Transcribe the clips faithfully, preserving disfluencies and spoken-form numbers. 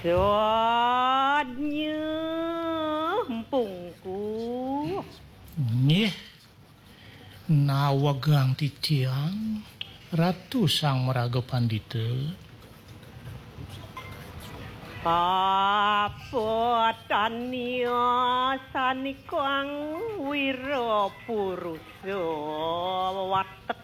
Dodnya empungku. Nggih, nawegang titiang, Ratu Sang Maraga Pandita. Apa tania sanikang wira purusa watek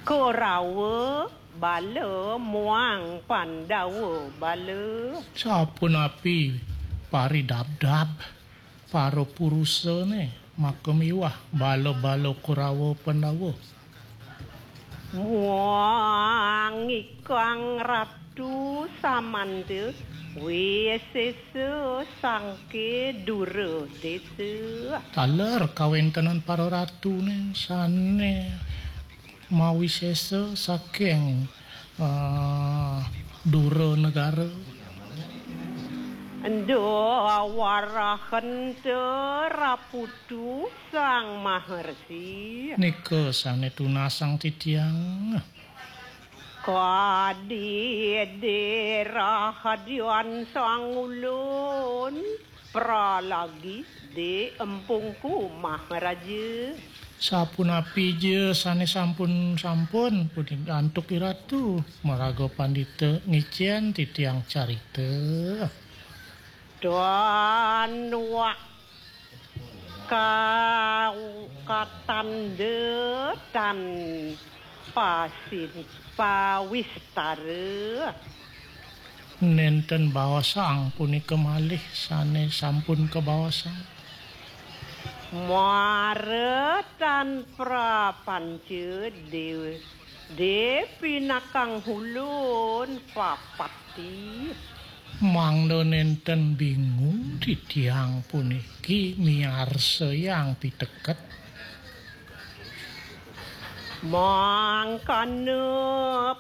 Korawa bala muang Pandawa bala. Sapunapi paridabdab para purusane maka miwah bala-bala Korawa Pandawa. Muang ikang Ratu Samanda Wisesa sangke Dura Desa. Taler kawentenan para ratune sane mawisesa saking, eh, Dura Negara. Ndo warahenta Raputu Sang Maharsi. Nika sane tunasang titiang. Kadi dirahadian Sang Ulun pralagi di empungku Maharaja. Sapunapi ja sane sampun-sampun, punika antuk iratu, maraga pandita ngicen titiang carita. Dan wak ka-, katanda tan pasin pawistara. Nenten baosang punika malih sane sampun kabaosang. Mara tan prapanca dewa, de pinakang hulun papati. Mangda nenten bingung titiang puniki miarsayang piteket. Mangkana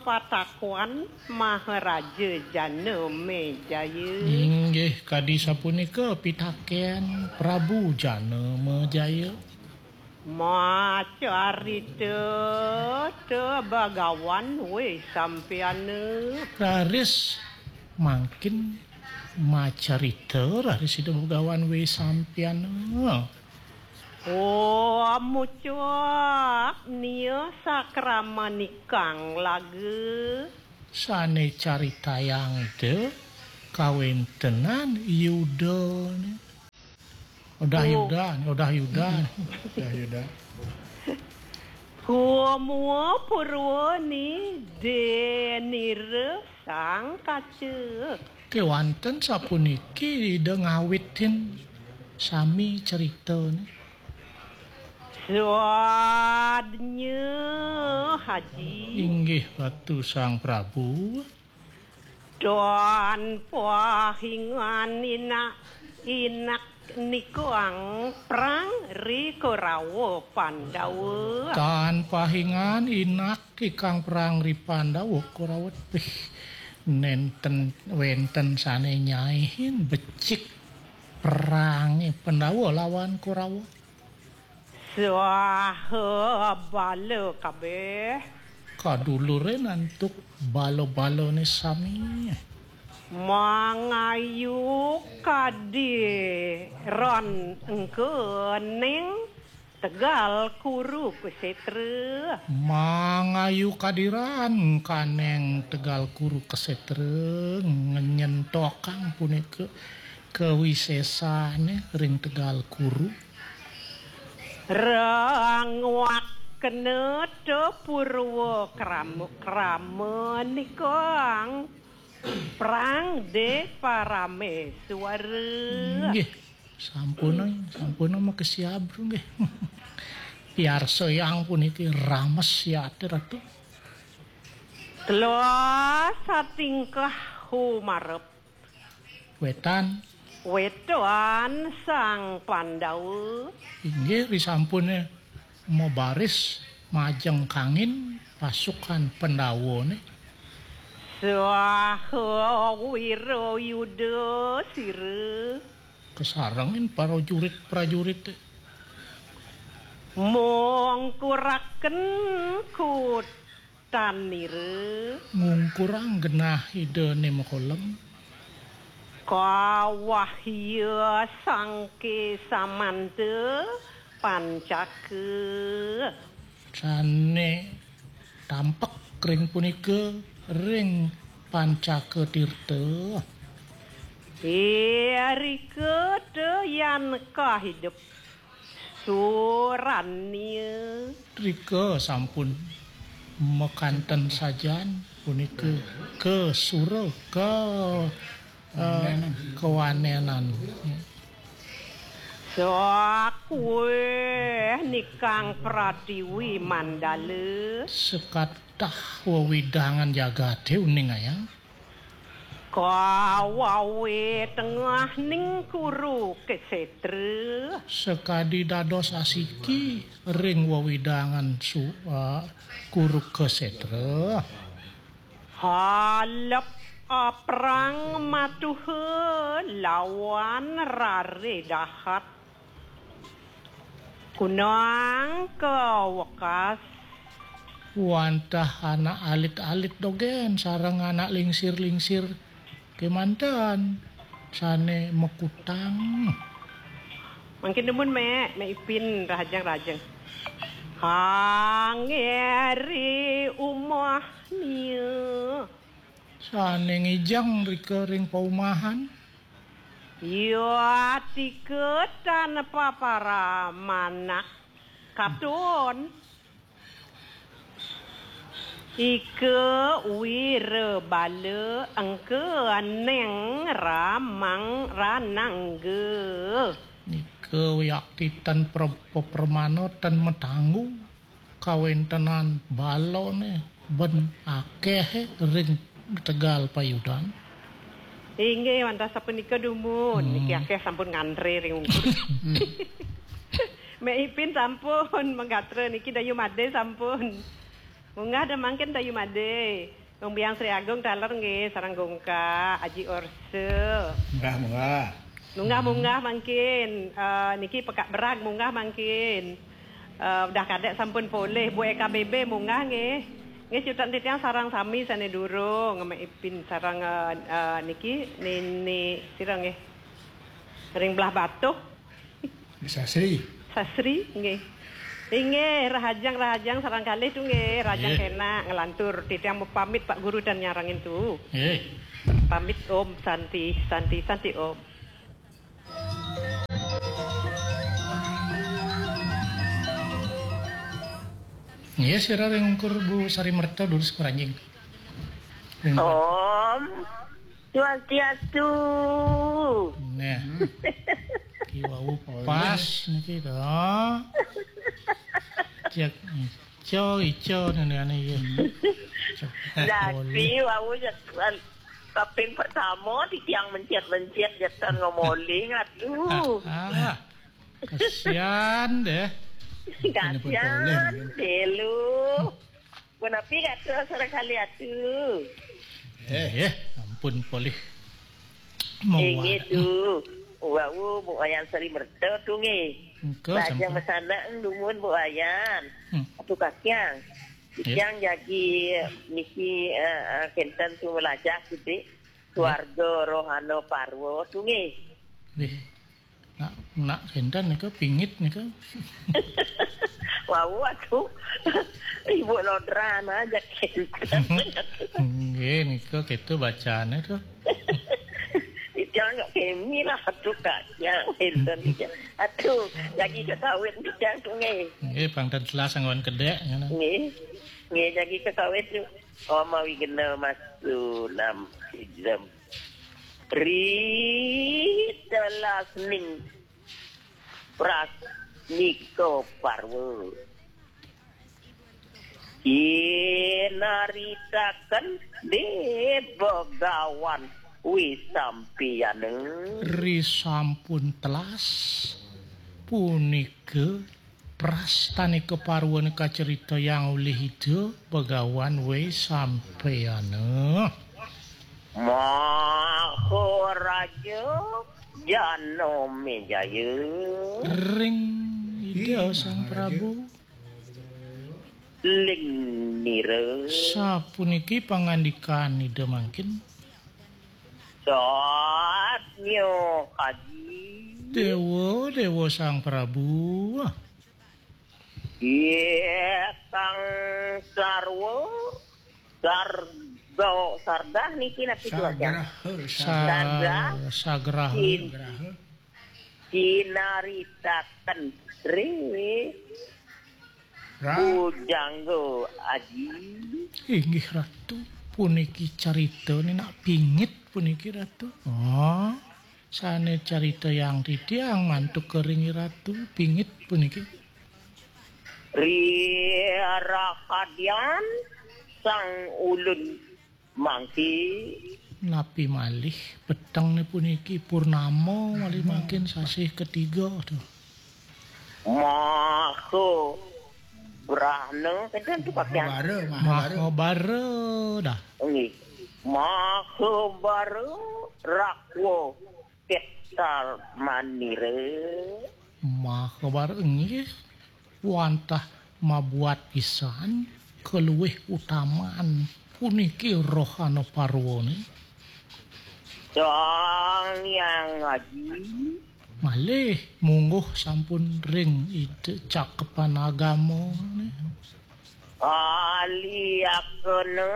patakuan Maharaja Janamejaya. Inggih kadi sapunika pitaken Prabu Janamejaya. Macarita te Bagawan Wesampiana. Raris mangkin macarita raris Ida Bagawan Wesampiana. Oh, mucuk nia sakramanikang laga. Sane caritayang Ida kawentenan Yudane. Odah Oh. Yuda, odah Yuda. Odah Yuda. Kumua purwa ni denira sang kaca. Kewanten sapuniki Ida ngawitin sami ceritane. Swadnya Haji. Inggih Ratu Sang Prabu. Don pahingan inak, inak nikang prang ri Korawa Pandawa. Tan pahingan inak ikang prang ri Pandawa Korawa. Wih, nenten wenten sane nyaihin becik perange Pandawa lawan Korawa. Swaha bala kabeh. Kadulure nantuk bala-balane sami. Mangayu kadiran engke ning Tegal Kuru Kusetra. Mangayu kadiran kaneng Tegal Kuru Kusetra ngenyentokang punika kawisesane ring Tegal Kuru. Rangwakna te purwa krama, krama nikang prang de parameswara. Nggih, sampun, sampun makesiab nggih. Piarsayang puniki rames yati Ratu. Tela satingkah humarep. Wetan. Wetan Sang Pandawa. Inggih, risampune mabaris majeng kangin pasukan Pandawane. Swaha wira yuda sira. Kasarengin prajurit-prajurite. Mongkuraken kut Tanira. Ngungkurang genah Ida Nemakolem. Kawahya sangke samanta pancaka. Sane tampek ring punika ring pancaka tirta. Irika te yan kahidep. Surania. Rika sampun makanten sajan punika ke sura ke eh, kewanenan. Sakueh nikang pratiwi mandala. Sekatah wewidangan jagate uning ayang. Kawawe tengah ning kuru kesetra. Sekadi dados asiki ring wewidangan su, eh, kuru kesetra. Halep aprang matuha lawan rare dahat. Kunang kawekas. Wantah anak alit-alit dogen sareng anak lingsir-lingsir kemanten sane makutang. Mangkin dumun, Mek, Mek Ipin, rahajeng-rahajeng. Hangeri umah nia. Sane ngijeng rika ring paumahan. Yatika tanpa paramanak. Katon. Ika wira bala engka neng ramang ranangga. Nika wiakti tan pre-, pepermana tan matanggu. Kawentenan balone ben akeh ring tegal payudan. Inggih, wantah sapunika dumun. Hmm. Niki akeh sampun ngantre ring ungkur. Mek Ipin sampun manggatra niki Dayu Made sampun. Munggah da mangkin Dayu Made. Wong Biang Sri Agung taler nggih, sareng Gongka, Aji Orse. Munggah, munggah. Munggah, munggah mangkin. Eh, niki Pekak Berag munggah mangkin. Eh, udah kadek sampun polih, Bu E K B B munggah nggih. Nggih, cutet titiang sareng sami sane durung, Mek Ipin sareng, eh, eh, niki Nini sira nggih. Ring belah Batuh. Sasri. Sasri, nggih. Inggih, rahajeng-rahajeng sareng kalih tu nggih, rahajeng. Nggih. Kenak nglantur. Titiang mau pamit Pak Guru dan nyarengin tu. Nggih. Pamit, Om Santi, Santi, Santi, Om. Nggih, sira ring ungkur Bu Sari Merta dulu seperanjing. Ring Om. Swastiastu. Nah. Ki wau pas niki to. Cek ico, ico nene ane iki. Dadi wau ya, kaping pertama titiang mencet-mencet jatan ngomoling, aduh. Ah, ah. Kasihan deh. Kasihan deh lu. Punapi gatra sareng kalih atu. Eh, eh, ampun polih. Inggih tu. Wau, Bu Wayan Sari Merta tu nggih. Engko lajeng sampun. Masanak dumun Bu Wayan. Hmm. Atu kakiang. Ya. Kakiang jagi niki, eh, eh, kenten tu melajah sithik. Ya. Keluarga Rohana Parwa tu nggih. Nggih. Nak, nak kenten nika pingit nika. Wau aku. Ibu Lodra aja kenten. Nggih, nika kita bacane to. Itu anak kemi lah tu Kak. Ya, kenten nika. Aduh, lagi ke kawin nika tu nggih. Nggih, pang ten telas anggon kedek ngono. Nggih. Nggih, lagi ke kawin tu. Oma Wigena Masu Nam Sijem. Ri telasning prasnika parwa. Inaritaken de Begawan Wisampiyana. Ri sampun telas punika prastanika parwana kaceritayang olih Ida Begawan Wisampayana. Maharaja Janamejaya. Ring Ida Sang Prabu. Ling nira. Sapuniki pangandikan Ida mangkin. Satnya Aji. Dewa, Dewa Sang Prabu. Iya, Sang Sarwa, Sarga, Sargah niki napi tuh, Aji? Sagraha, Sa-, Sargah. Sagraha. Sin-, Sagraha. Sinaritaken ri Ra. Bujangga Aji. Inggih Ratu, puniki carita ni nak pingit puniki Ratu. Oh, sane carita yang titiang mantuk kering Ratu pingit puniki. Ri rahadian sang ulun mangki. Napi malih peteng ni puniki purnama malih mangkin sasih ketiga tuh. Maha Brahna, kenten tu pakaian. Mahabara, Mahabara. Mahabara dah. Nggih. Mahabara rakwa ketar manira. Mahabara nggih. Wantah mabuat pisan keluwih utaman puniki rohana parwane. Sang Hyang Aji. Malih mungguh sampun ring Ida cakepan agama. Aliakena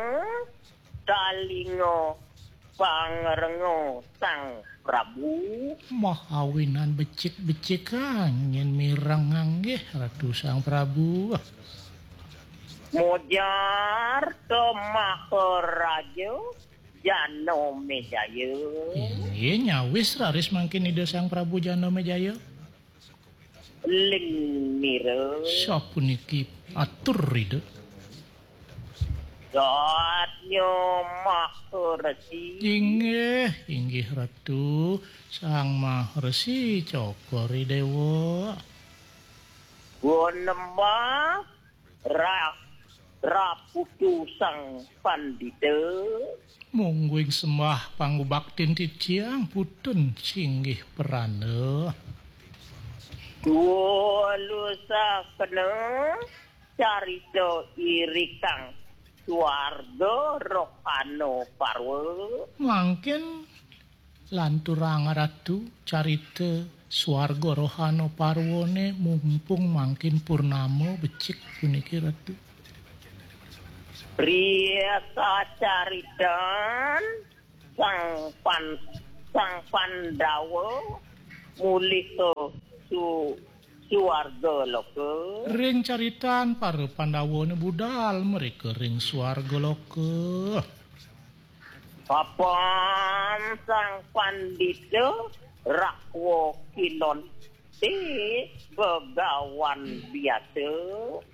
talinga pangrenga Sang Prabu. Mahawinan becik-becik angin mireng nggih Ratu Sang Prabu. Mujar ke Maharaja Janamejaya. Inggih nyawis raris mangkin Ida Sang Prabu Janamejaya. Ling nira. Sapuniki atur Ida. Satya Maharesi. Inggih, inggih Ratu, Sang Maharesi Cokor Dewa. Gunembah ra-, raputu Sang Pandita. Mungguing sembah pangubaktin titiang putun singgih prana. Dua lusakena carita irikang swarga rohana parwa. Mangkin lanturang Ratu carita swarga rohana parwane mumpung mangkin purnama becik puniki Ratu. Ri kacaritan Sang Pan-, Sang Pandawa mulih ka su-, suwarga loka. Ring caritan para Pandawane budal mereka ring suwarga loka. Papan Sang Pandita rakwa kilon ti begawan biasa.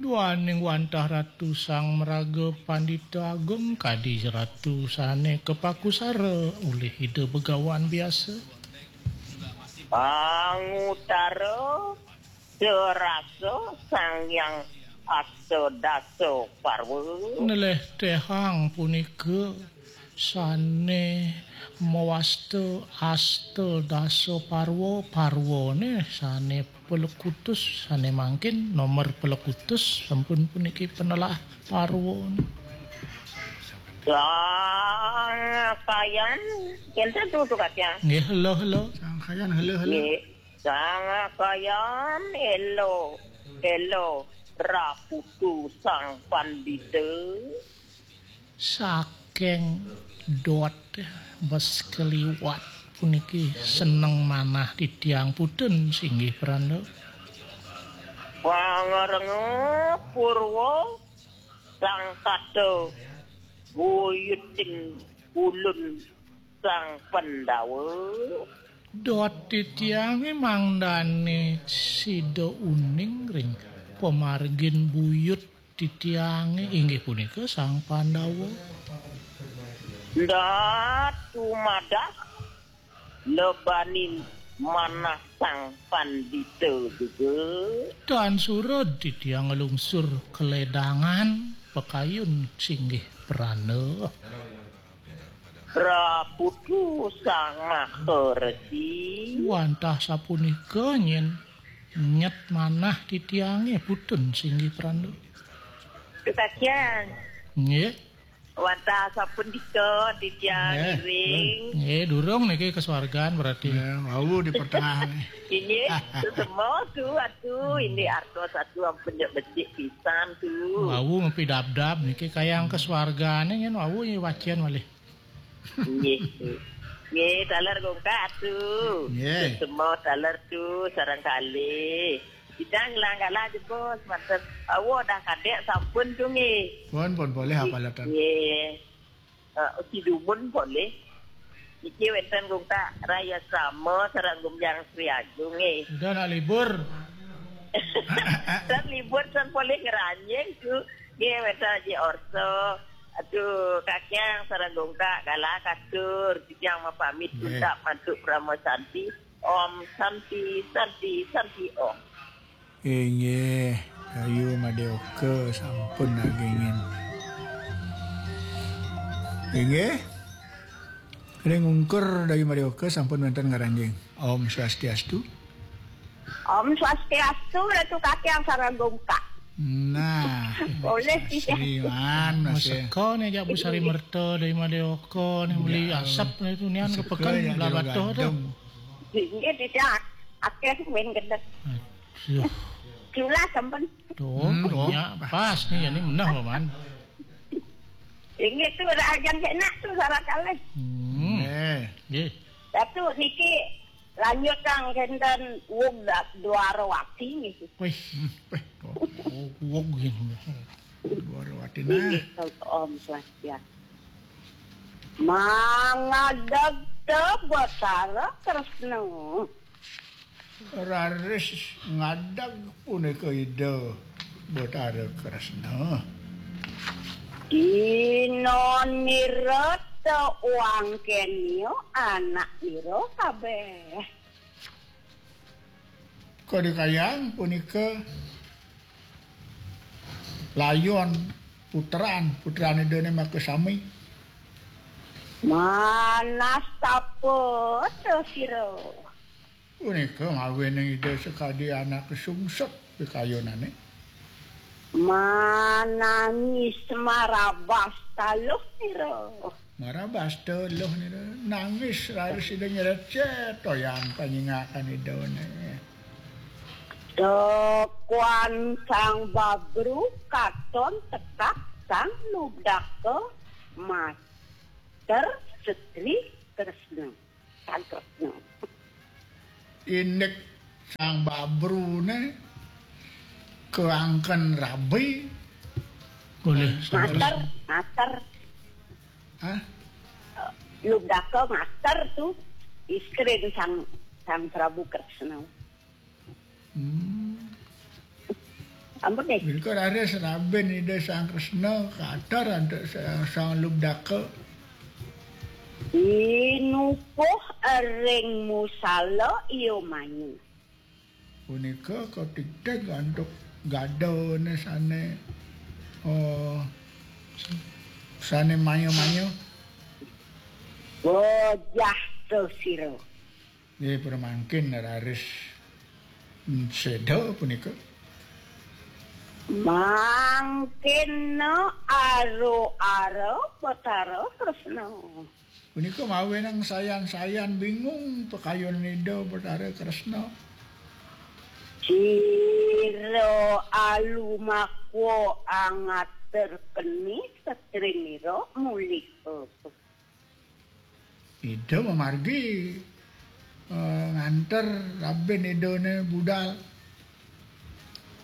Duaning wantah Ratu Sang Maraga Pandita Agung kadi Ratu sane kapakusara ulih Ida begawan biasa. Pangutara serasa Sang Hyang Astadasa Parwa. Neleh tehang punika sane mawasta Astadasa Parwa, parwane sane pelekutus, sane mangkin nomor pelekutus, sampun puniki penelah parwane. Sang Kayan, enten tutu katya. Nggih, helo, helo. Sang Kayan, helo, helo. Nggih, Sang Kayan, elo, elo, raputu Sang Pandita. Saking dot bes keliwat puniki seneng manah titiang putun singgih pranda. Pangarenga purwa Sang Kata buyuting ulun Sang Pandawa. Dot titiange mangdane sida uning ring pamargin buyut titiange inggih punika Sang Pandawa. Ndat tumadak lebanin manah Sang Pandita juga. Tan surud titiang nglungsur keledangan pakayun singgih prana. Praputu Sang Maharesi. Wantah sapunika nyen nyet manah titiange putun singgih pranda. Kekakian. Nggih. Wantah sampun dika titiang ngiring. Nggih, durung niki ke swargan berarti. Ya, wau di pertengahan. Ini semua tu atu ini artos atu ampun jak becik pisan tu. Wau ngepi dab-dab niki kayang ke swargane nyen wau nyi wacian malih. Nggih. Nggih, taler gongkak tu. Nggih. Semua taler tu sarang kali. Kita ngelang galah jebos manten. Awo dah kadek sampun tu nggih. Pun, pun boleh apa letan? Nggih. Uh, uti dumun boleh. Iki wenten gungkak raya sama sarang gumjang Sri Agung nggih. Udah nak libur. San libur san boleh ngeranjing tu. Nggih wenten Haji Orso. Aduh, kakiang sarang gungkak galah katur. Kijang mapamit. Nggih. Untak mantuk Brahma Santi. Om Santi, Santi, Santi Om. Inggih, kayu Madioka sampun nagingin. Inggih. Ring ungkur dari Madioka sampun wenten ngaranjing. Om Swastiastu. Om Swastiastu, Ratu Kakiang sareng gungkak. Nah, boleh sih. Sriman masih. Maseka nih jak Bu Sari Merta dari Madioka nih beli asap nih tuh nian ke peken belah batuh tuh. Inggih tidak akeh main gedek. Aduh. Jula sampun. Tuh, hmm, banyak pas nih ini menah paman. Inggih tu ora ajang enak tu salah kalih. Hmm. Eh. Nggih. Datu niki lanjut kang kenten wong Dwarawati niki. Wih, wih, wong gini. Dwarawati nah. Inggih Om Swastiastu. Mangadeg te Batara Kresna. Raris ngadeg punika Ida Batara Kresna. Dina nirata wangkenia anak ira kabeh. Kadikayang punika layon putran, putran Idane makasami. Manastapa sira. Punika mawining Ida sakadi anak sungsut pikayunane. Manangis marabas taluh nira. Marabas taluh nira. Nangis raris Ida nyrecet toyan panyingakan Idane. Tekuan Sang Babru katon tekak Sang Lubdaka mater Setri Kresna. Sang Kresna. Indik Sang Babrune keangken rabi. Boleh. Mater, mater. Hah? Lubdaka mater tu istrin Sang Sang Prabu Kresna. Hmm. Ampun deh. Wilka raris rabin Ida Sang Kresna kater antuk Sang, Sang Lubdaka. Inupuh ring musala iya manyu. Punika katigtig antuk gadane sane, oh, sane maya-maya. Bojah to sira. Nggih, pramangkin raris seda punika. Mangkin aro-ara Batara Kresna. Punika mawinan sayan-sayan bingung pakayun Ida Batara Kresna. Sira alumakwa angater keni setrinira mulih. Ida mamargi, eh, nganter rabin Idane budal.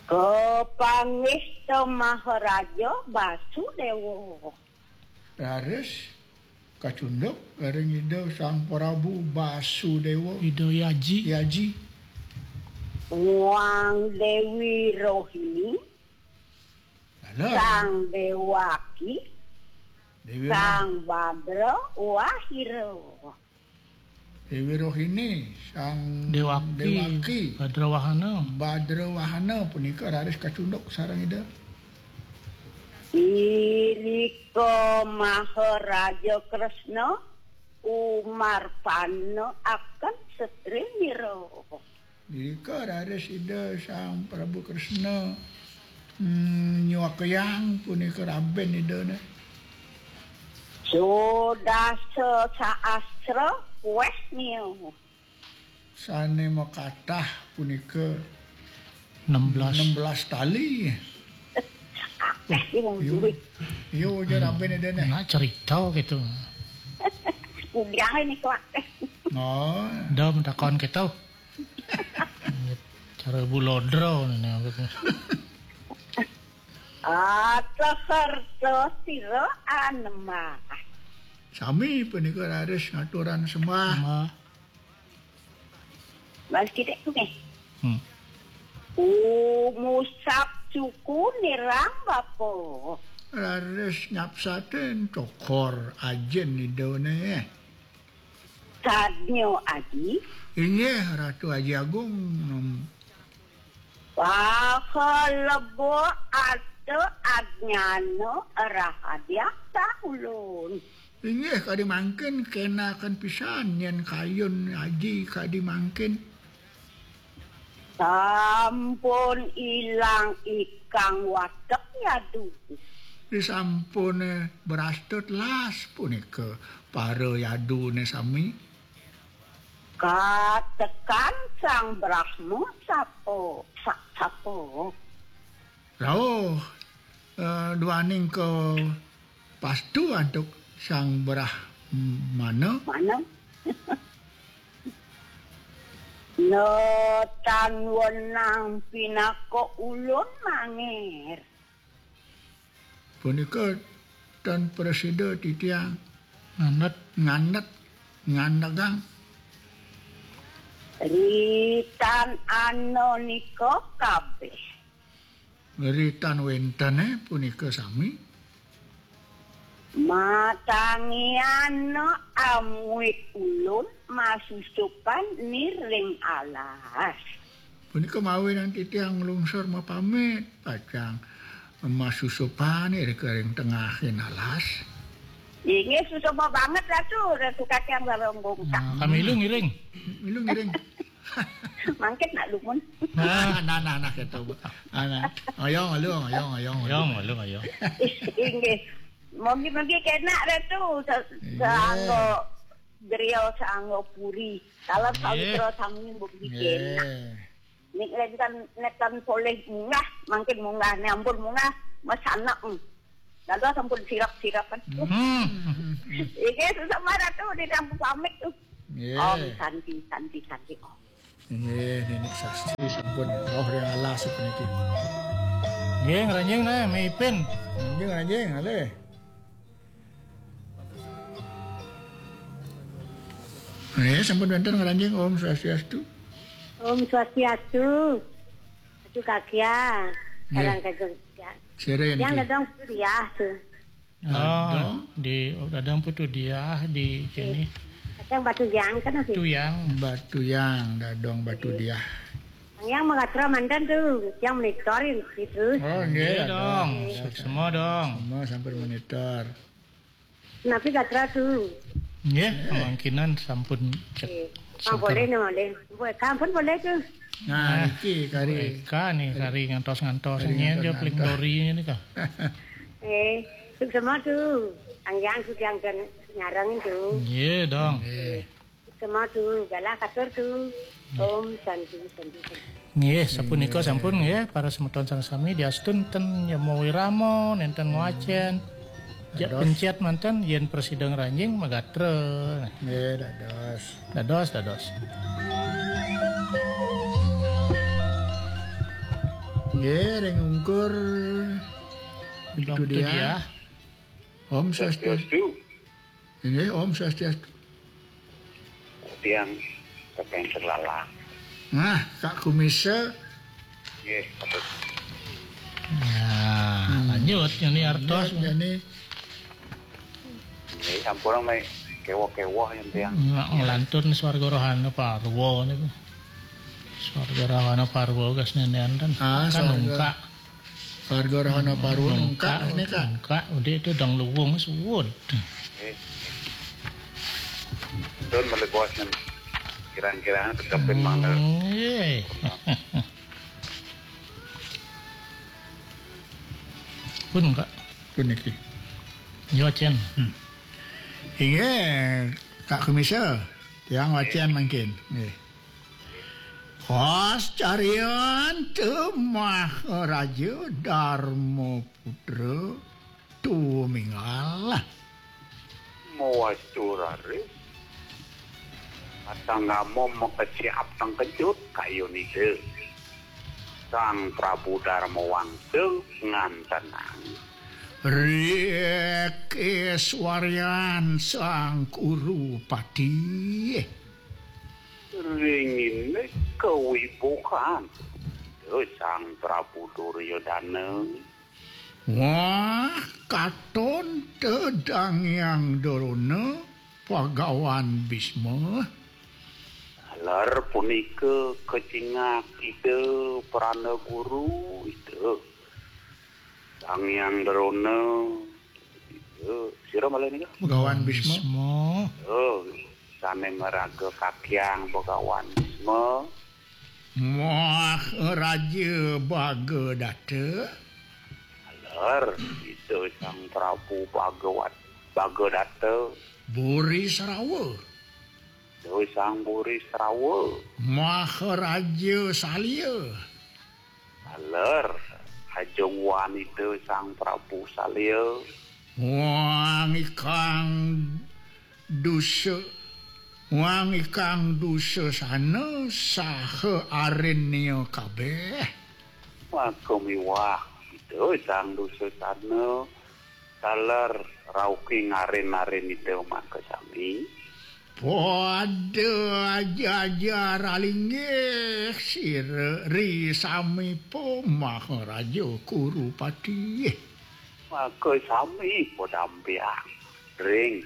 Kapanggih ta Maharaja Basudewa. Raris kacunduk ring Ida Sang Prabu Basudewa. Ida Yaji. Yaji. Wang Dewi Rohini. Lala. Sang Dewaki. Dewi Sang Badra Wahira. Dewi Rohini, Sang Dewaki, Dewaki. Badrawahana. Badrawahana punika raris kacunduk sareng Ida. Irika Maharaja Kresna umarpana akan setrinira. Irika raris Ida Sang Prabu Kresna Hmm, nyuakayang punika raben Idane. Sudasa sahastra kueh niu. Sane makatah punika enam belas. Enam belas tali. Akeh ki wong duwe. Iya, iya, raben Idane. Nak cerita gitu. Udah ini kuat. Oh. Dah mentakon gitu. Cara bulodro ini. Ata kerta sira anemah. Sami punika raris ngaturan sembah. Sembah. Mas kita tu ni. Hmm. Umusap suku nirang bapa. Raris nyapsatin cokor ajin Idane. Sadnya Aji. Inggih, Ratu Aji Agung. Pahalebo ata ajnana rahadiaksa ulun. Inggih, kadi mangkin kenaken pisan yen kayun aji kadi mangkin. Sampun ilang ikang watek yadu. Disampune brasta telas punika para yadune sami. Katekan Sang Brahma sapa? Sa-, sapa? Rauh, eh, duaning kapastu antuk Sang Brahmana. Mana? No tan wenang pinaka ulun mangir. Punika tan prasida titiang. Ngandet. Ngandet. Ngandegang. Ritan anonika kabeh. Ritan wentene punika sami. Matangiana amuit ulun masusupan niring alas. Punika mawinan titiang nglungsur mapamit, pacang masusupan irika ring tengahing alas. Inggih, susupa banget, Ratu. Ratu Kacang Barong Bongkak. Nah, kami ilu ngiring. Ilu ngiring. Mangkit nak lumun. Nah, nah, nah, nah, gitu. Ah, nah. Oyong, oyong, oyong, oyong, oyong. Oyong, oyong, oyong. Inggih. Mogi-mogi kenak, Ratu. Sa-, iya. Saangga griya, saangga puri. Dalam sawitra sami mogi kenak. Nek lekan, lekan polih munggah, mangkin munggah, nek ampun munggah, masanak. Lalu sampun sirap-sirapan. Hmm. Iki susah marah tuh, di dalam pamit tuh. Nggih. Om Santi, Santi, Santi, Om. Nggih, Nenek Sasti sampun roh ring alas puniki. Nggih, ngranjing nah, Mei Ipin. Nggih, ngranjing, alih. Nggih, sampun wenten ngranjing. Om Swastiastu. Om Swastiastu. Aduh, Kak, ya. Nggih. Salam kagem, ya. Sira yang Yang di- dadang Putu Diah tuh. Oh, Dadang? Di, oh, Dadang Putu Diah di sini. Dadang Batu Yang kan, sih? Batu Yang. Batu Yang, Dadang Batu Diah. Yang mengatur mantan tuh, yang monitorin gitu. Oh, nggih, Nggih, dong. Dadang. Semua dong. Semua sampai monitor. Napi gatra tu? Nggih, kemungkinan sampun cek. Nggih. Ah, sampun. Boleh, no, boleh. Boleh, sampun boleh tu. Nah, ah, niki kari. Eka nih, kari ngantos-ngantos. Kari nyen jo ngantos-ngantos. Paling dori ini kah? Eh, suksma tu. Anggiang sugiang dan nyarang tu. Nggih, dong. Nggih. Suksma tu, galah katur tu. Om Santi, Santi, Santi. Nggih, sapunika sampun nggih, para semeton sareng sami diastun ten nyama wirama, nenten ngwacen. Jak dados. Pencet manten yen prasida ngranjing magatra. Nggih, dados. Dados, dados. Nggih, ring ungkur. Itu dia. Om Swastiastu. Swastiastu. Nggih, Om Swastiastu. Tiang kepen terlalang. Nah, Kak Kumisa. Nggih, patut. Nah, hmm, lanjut, ini artos. Lanjut, ini. Nggih, sampun meh kewoh-kewoh yang tiang. Nggak ngelantur nih Swarga Rohana Parwa niku. Swarga Rohana Parwa gas nenean kan. Ah, kan swarga. Nungkak. Warga Rahana Parwa nungkak, nungkak, ini, Kak. Nungkak, udah itu dang luwung suwud. Eh. Don melegosan. Kira-kira tetepin mangga. Nggih. Pun, Kak. Puniki. Yo, Cen. Hmm. Inggih, Kak Kumisa, tiang wacén mangkin. Nggih. Pas carian teu Maharaja Darma Putra tuminggal. Mawastu raris. Atanggama makesiap tangkejut kayun Ida. Sang Prabu Darma Wangsa ngantenang. Rikis warian Sang Kurupati. Ringine kawibuhan. Duh, Sang Prabu Duryodana. Wah, katon tedang yang dorona Pagawan Bisma. Ler punika kecingak Ida Prana Guru, Ida. Sang Hyang Drona, Ida. Sira malih nika? Pagawan Bisma. Bisma. Oh, sane maraga kakyang Pagawan Bisma. Maharaja Bagadata. Ler, Ida Sang Prabu Bagawat, Bagadata. Buri Srawa. Ida Sang Buri Srawa. Maharaja Salya. Ler, Ajungwan Ida Sang Prabu Salya. Wang ikang dusa, wang ikang dusasana saha arinnya kabeh. Maka miwah Ida Sang Dusasana, taler rauking arin-arin Ida maka sami. Pada aja-aja ralinggih sira ri samipa Maharaja Kurupati. Maka sami padampiang ring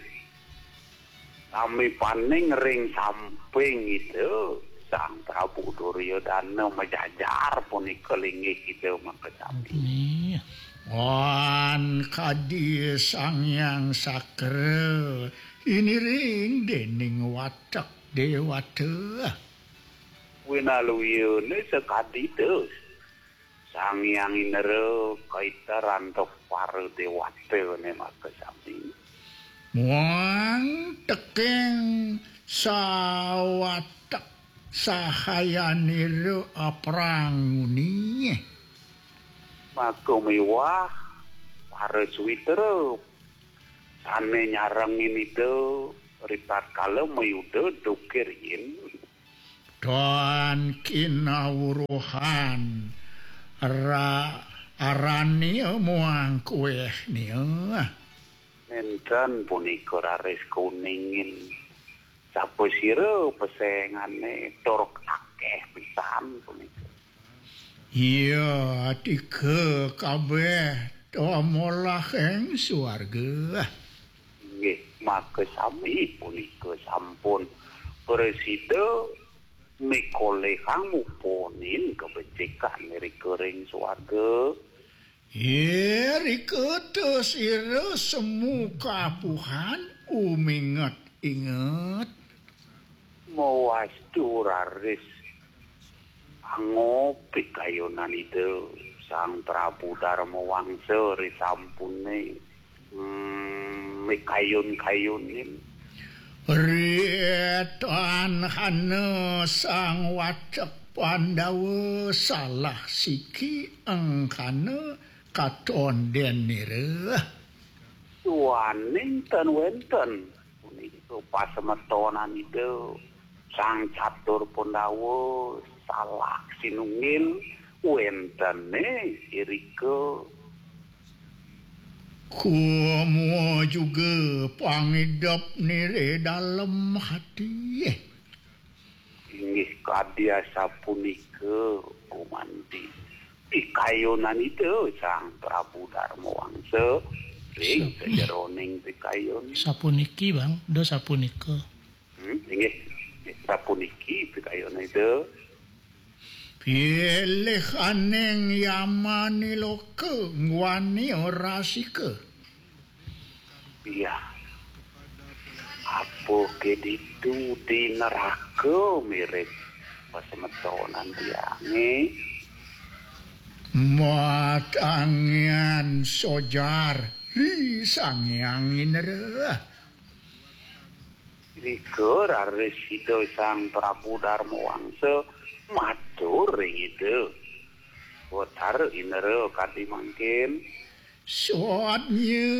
sami paning ring samping Ida Sang Prabu Duryodana majajar punika linggih Ida maka sami. Ampuni. Wan kadi Sang Hyang Sakra iniring dening watek dewata. Winaluyane sakadi Ida. Sang Hyang Indra kaiter antuk para dewatane maka sami. Muang teking sawatek sahayanira apranguni. Maka miwah para suwitra sane nyarengin Ida ritatkala mayuda duke riin. Tan kinawruhan ra-, arane muang kueh nia. Nenten punika raris kuningin. Sapasira pesengane tur akeh pisan punika. Iya, tika kabeh to molah ing suarga. Nggih, maka sami punika sampun prasida mikolehang muponin kabecikan irika ring suarga. Irika ta sira semu kapuhan uminget-inget. Mawastu raris angopi kayunan Ida Sang Prabu Darma Wangsa risampune, mm, mikayun-kayunin. Ritanhana Sang Wacek Pandawa salah siki engkana katon denira. Duaning tan wenten punika pasemetonan Ida Sang Catur Pandawa salah sinunggil wentene irika. Kumua juga pangidep nire dalem hati. Inggih kadi asapunika gumanti pikayunan Ida Sang Prabu Darma Wangsa ring sajeroning pikayun. Sapuniki, Bang, do sapunika. Hmm, inggih, sapuniki pikayunan Ida. Pilih aning yamani loka ngwani orasika. Iya. Apa ke ditu di neraka mirip pasemetonan tiange? Matangian sojar ri Sang Hyang Indra. Rika raris Ida Sang Prabu Darma Wangsa matur ring Ida Betara Indra kadi mangkin. Swadnya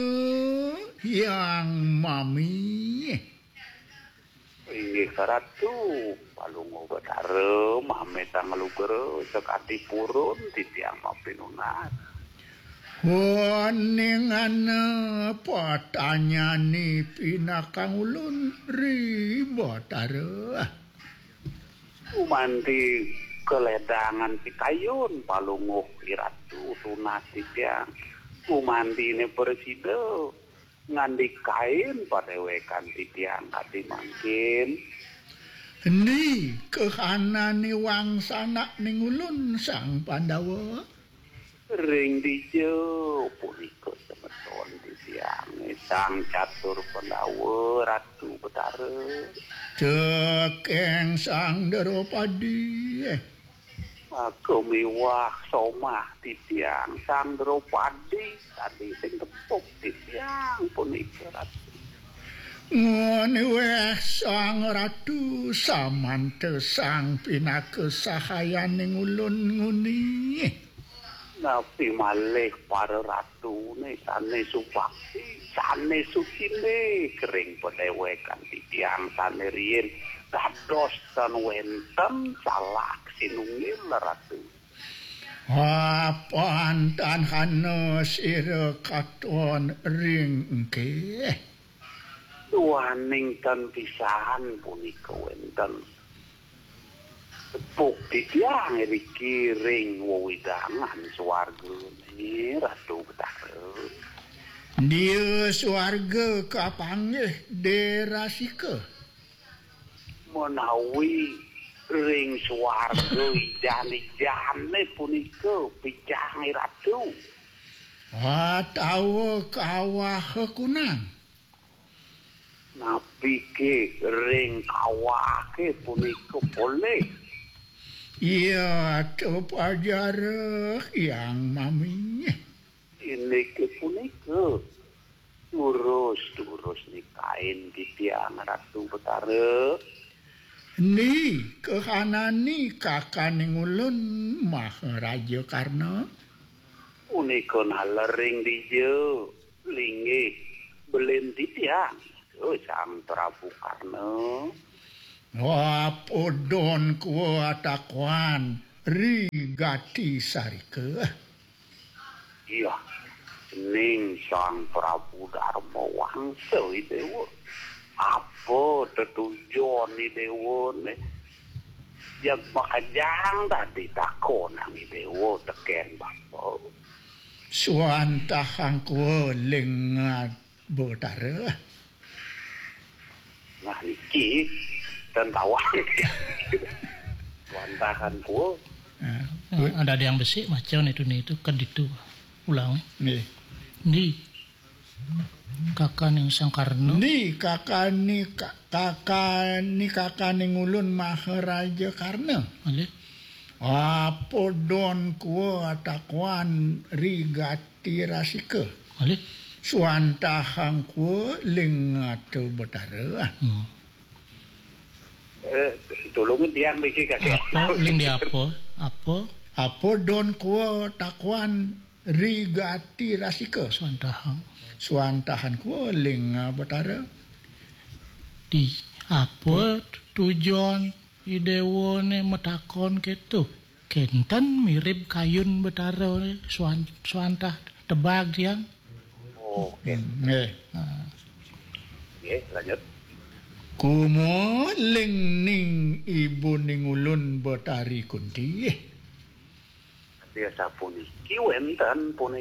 Hyang Mami. Inggih Ratu, Palungguh Betara, mamitang lugra sakadi purun titiang mapinunas. Waningana patanyani pinakang ulun ri Batara. Gumanti kaledangan pikayun Palungguh Iratu tunas titiang. Gumantine prasida ngandikain padewekan titiang kadi mangkin. Endi kahanane wangsanak ning ulun Sang Pandawa? Ring dija punika semeton titiang Sang Catur Pandawa Ratu Betara? Tekeng Sang Dropadi. Maka miwah somah titiang Sang Dropadi tadi sing tepuk titiang punika Ratu. Nguni weh Sang Ratu samanta sang pinaka sahayaning ulun nguni. Napi malih para ratune sane subakti, sane sucine kering padewekan titiang sane riin dados tan wenten salah sinunggil Ratu. Apan tan hana sira katon ring engkeh. Duaning tan pisan punika wenten. Tepuk titiang iriki ring wewidangan swargane Ratu Betara. Dia swarga kapanggih Derasika. Menawi ring swarga ijan-ijane punika picang Ratu. Atawa kawah kunang. Napike ring kawahe punika polih? Iya, tepajareh Hyang Mami. Inike punika. Durus-durus nikain titiang Ratu Betara. Ni kahanani kakaning ulun Maharaja Karna? Punika nalering dija linggih belin titiang, Sang Prabu Karna. Wapudon kua takuan ri gati sarika. Iya, ning Sang Prabu Darma Wangsa Idewa. Apa tetujon Idewane? Jeg makejang tadi takonang Idewa teken bapa. Suantahang kua lingat Betara. Nah, niki ten tawang. Wantahan kua. Ada yang besik macam itu nih itu kan itu ulang. Nih. Ni kakaning Sang Karna. Ni kakani kakani kakani ngulun Maharaja Karna. Alih. Apa don kua takuan rigat Tirasika. Malih? Suantahang kua ling atu Betara. Hmm. Eh, tulungin tiang niki, Kakek. Apa? Ling di apa? Apa? Apa don kua takuan rigati rasika? Suantahang. Suantahan kua ling Betara. Di apa tujuan Idewa ne matakon keto? Kenten mirib kayun Betara ne suan-, suantah tebag tiang. Oh, oke. Hmm, nggih. Ha. Nggih, lanjut. Kumo ling ning ibu ning ulun Betari Kunti. Biasa puniki wenten punik